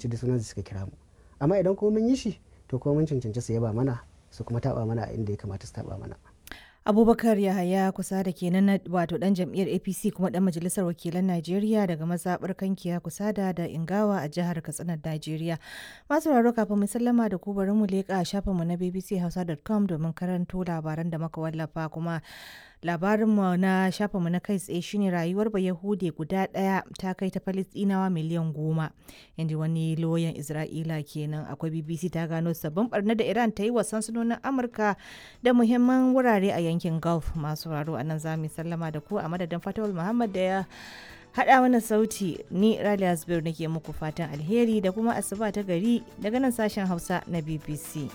Da sunan su suka kira mu. Amma idan kuma mun yi shi, to kuma mun cancanci su yaba mana, su kuma taɓa mana a inda ya kamata su taɓa mana. Abubakar Yahaya kusa da kenan na wato dan jam'iyyar APC kuma dan majalisar wakilan Najeriya daga mazaɓar Kankiya Kusada da Ingawa a jihar Katsina, Najeriya. Masu sauraro, kafin mu sallama da ku, bari mu leƙa shafinmu na bbchausa.com domin karanto labaran da muka wallafa. Kuma labarinmu na shafinmu na kai tsaye shine rayuwar Bayahude guda ɗaya ta kai ta Falistinawa miliyan 10, inda wani loyan Isra'ila kenan. Akwai BBC ta gano sabbin barna da Iran ta yi wa sansanonin Amurka da muhimman wurare a yankin Gulf. Masu sauraro, a nan za mu sallama da ku. A madadin Fatawul Muhammad da ya haɗa mana sauti, ni Raliya Zubairu nake muku fatan alheri da kuma asuba ta gari daga nan sashen Hausa na BBC.